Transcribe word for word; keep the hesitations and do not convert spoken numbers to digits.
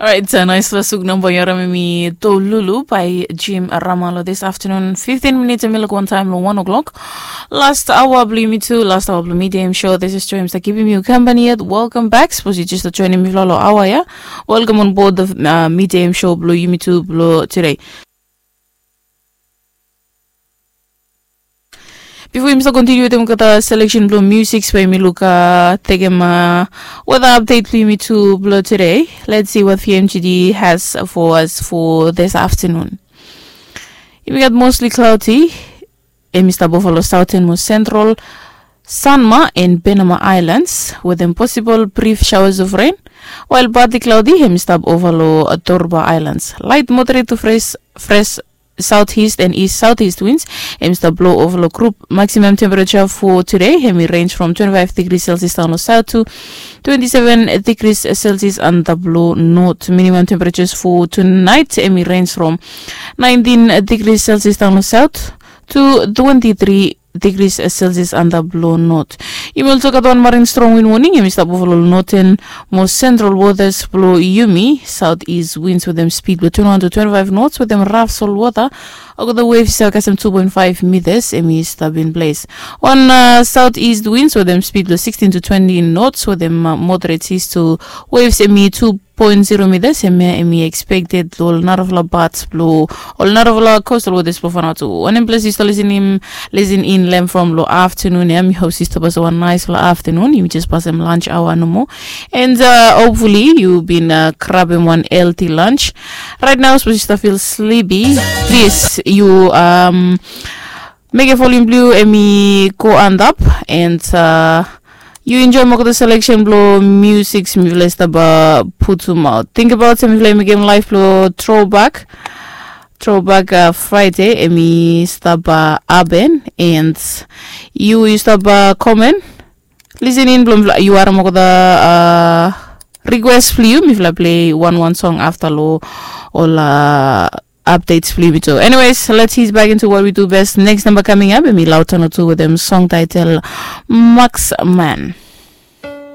Orait, nais vasuk namba yu harim em i Tolulu by Jim Rama lo this afternoon. Fifteen minutes em i luk wantaem lo one o'clock. Last aoa blo yumi tu, last aoa blo Midei Hem Show. This is Joy, mi stap givim yu kampani yet. Welcome back. Sapos yu jes stap joinim mifala lo aoa ya, welcome on board the uh, Midei Hem Show blo yumi tu blo today. Bifo yumi stap kontiniu wetem olgeta seleksen blo musik, we yumi luk tekem weta apdet blo yumi tu blo today. Let's see what V M G D has for us for this afternoon. Yumi gat mostly cloudy. Em i stap ova lo sauten mo sentral Sanma and Penama Islands, wetem posibol brif showers of rain, wael partly cloudy em i stap ova lo Torba Islands. Light moderate to fresh, fresh southeast and east southeast winds em i stap blo ova lo grup. Maximum temperature for today em i range from twenty-five degrees Celsius daon lo south to twenty-seven degrees Celsius antap lo north. Minimum temperatures for tonight em i range from nineteen degrees Celsius daon lo south to twenty-three degrees Celsius antap lo north. Yumi olso gat wan marin strong wind warning em i stap ova lo northern mo central waters blo yumi. Southeast winds wetem speed blo twenty-one to twenty-five knots wetem raf sol wota. Olgeta waves i save kasem two point five meters em i stap in place. Wan uh, southeast winds wetem speed blo sixteen to twenty knots wetem uh, moderate seas to waves em i two point zero meters. Em ya em i expected lo ol narafala parts blo ol narafala coastal waters blo Vanuatu. Wanem ples yu stap listening, listen in lem from lo afternoon ya. Mi hope yu stap gat wan naisfala afternoon. Yumi jes pasem lunch hour nomo. And uh, hopefully yu bin uh, grabem wan healthy lunch. Right now, sapos yu stap feel sleepy, please yu um, mekem volume blo yu em i go antap and uh, yu enjoem olgeta seleksen blo musik mifala i stap uh, putumaot. Tingbaot se mifala i mekem live blo Throwback, Throwback uh, Friday em i stap uh, hapen and yu yu stap uh, komen. Listen in blo mifala yu harim olgeta uh, request blo yu, mifala plei wan wan song afta lo ol uh, updates blo yumi tu. Anyways, let's ease back into what we do best. Next number coming up em i Lautano tu wetem song title Marksman.